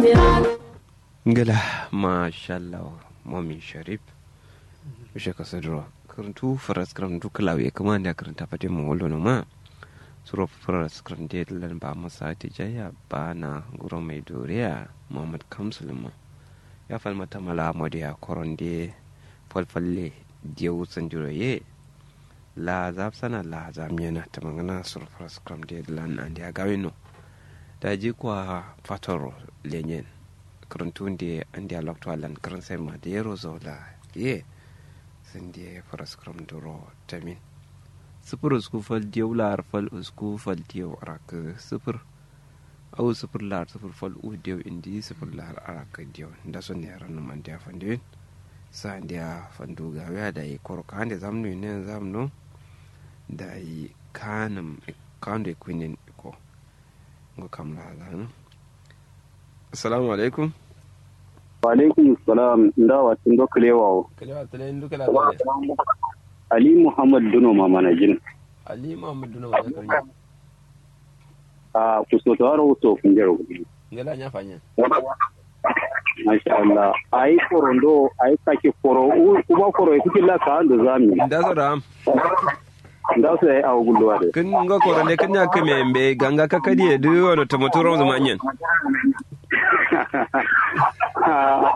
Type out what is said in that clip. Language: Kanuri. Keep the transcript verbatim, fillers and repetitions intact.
Ngla mashallah. Momin sharif. Ushe kasaduro. Kǝrǝntu faras kǝrǝntu kǝlawu ye kǝma andeya kǝrǝnta fatin mu wallo noma. Suro faras kǝrǝntu ye dǝlan ba musa tijaiya ba na nguro mai doriya muhammad kamsuluma. Ya falma tamala modiya koronde falfalle. Diyau sandiro ye. Laa zafsana laa zamnyena tǝmangǝna suro faras kǝrǝntu ye dǝlan andeya gawinno. Daji kwa fatoro lenyen. Kǝrǝntu nde andeya loktu allan kǝrǝnsen ma dero zaula ye. Sǝnde faras kǝrǝm duro tamin. Sǝfur usku fal diyau la'ar fal usku fal diyau arakǝ sǝfur. Au sǝfur la'ar sǝfur fal u diyau indi sǝfur la'ar arakǝ diyau. Ndaso ne ranǝm andeya fandiwin. Sa andeya fandu gawiya dayi koro kande zamnu inen zamnu. Dayi kanǝm kando ikuinen iko. Ngo kam la gano. Assalamu alaikum. Wa alaikum salam. Nda watin do kalewa o. Kalewa tale ndu kala tale. Ali muhammad duno ma manajin. Ali muhammad duno ma manajin. A kuso to aro uso kunjero. Ngala nya fanya. Masha Allah. Ai koro ndo ai kake koro u kuma koro e kuki la ka ando zami. Nda so da am. Nda so ai awu gulluwa de. Kǝn ngo koro nde kǝn nya kǝme mbe ganga kakadi ye du wono tomotu rom zuma nyen. Ah,